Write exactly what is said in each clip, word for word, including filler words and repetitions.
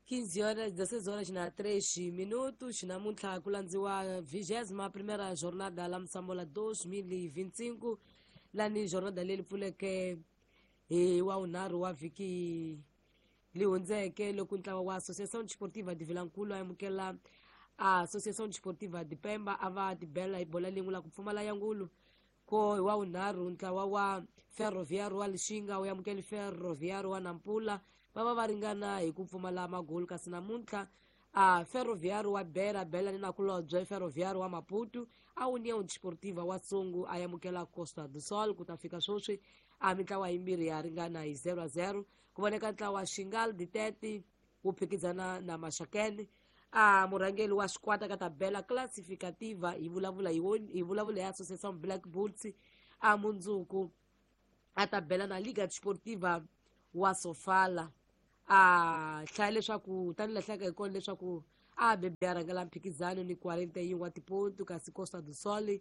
quinze horas, dezesseis horas na três minutos. Namuntlha ku landziwa vigésima primeira jornada la Msambola dois mil e vinte e cinco, lani jornada leyi pfuleke hi wa vunharhu wa vhiki leyi hundzeke loko ntlawa wa Associação Desportiva de Vilankulu a amukela a Associação Desportiva de Pemba a va tibela hi bola lin'we la ku pfumala ya ngulu. Ko hi wa vunharhu ntlawa wa Ferroviário wa Lixinga wu amukele Ferroviário wa Nampula va va va ringana hi ku pfumala magolu. Kasi namuntlha a Ferroviário wa Beira bela ni nakulobye Ferroviário wa Maputo a União Desportiva wa Songo a amukela Costa do Sol. Ku ta fika sweswi a mintlawa yimbirhi ya ringana hi zero a zero. Ku voneka ntlawa Xingal Ditete wu phikizana na Maxakene. A murhangeri wa xikwata ka tabela classificativa hi vulavula hi hi vulavula hi Associação Black Bulls a mundzuku a tabela na Liga Desportiva wa Sofala. A hlaya leswaku tanihi lahlaka hi kona leswaku a bebe a rhangela mphikizano ni quarenta e um wa tipontu, kasi Costa do Sol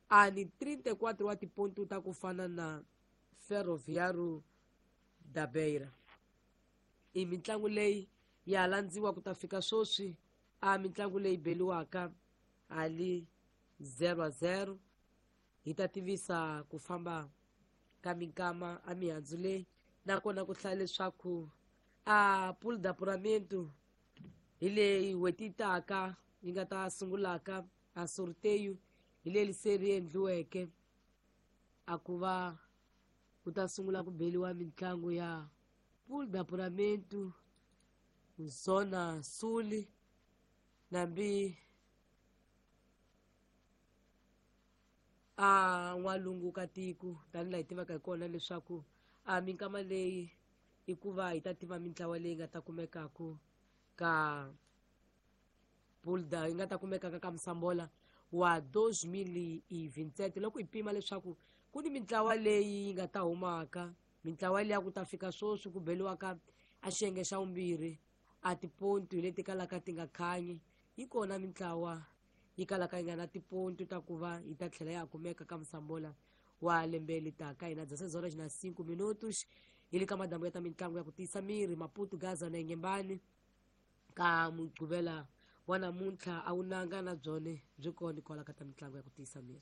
a ni trinta e quatro wa tipontu ta ku fana na Ferroviário da Beira. I mitlangu leyi ya landziwa ku ta fika sweswi a mitlangu leyi beliwaka ali zero a zero. Hi ta tivisa ku famba ka minkama a mihandzu leyi, nakona ku hlaya leswaku a pool d'apuramento hi leyi n'hweti yi taka yi nga ta sungulaka a sorteio hi leyi se ri endliweke a ku va ku ta sungula ku beliwa mitlangu ya pool d'apuramento Zona Sul nambi a n'walungu ka tiko tanihi laha hi tivaka hi kona leswaku a minkama leyi i ku va hi ta tiva mintlawa leyi nga ta kumekaku ka pool da yi nga ta kumekaka ka Msambola wa dois mil e vinte e sete. Loko hi pima leswaku ku ni mintlawa leyi yi nga ta humaka, mintlawa liya ku ta fika sweswi ku beliwaka a xiyenge xa vumbirhi a tipontu hi leti kalaka ti nga khanyi, yi kona mintlawa yi kalaka yi nga na tipontu ta ku va yi ta tlhela ya kumeka ka Msambola wa lembe leri taka. Hina dezesseis horas na cinco minutos hi le ka madambu ya ta mitlangu ya ku tiyisa miri Maputo, Gaza na Inhambane ka Mugqivela wa namuntlha a wu nanga na byone byi kona kwala ka ta mitlangu ya ku tiyisa miri.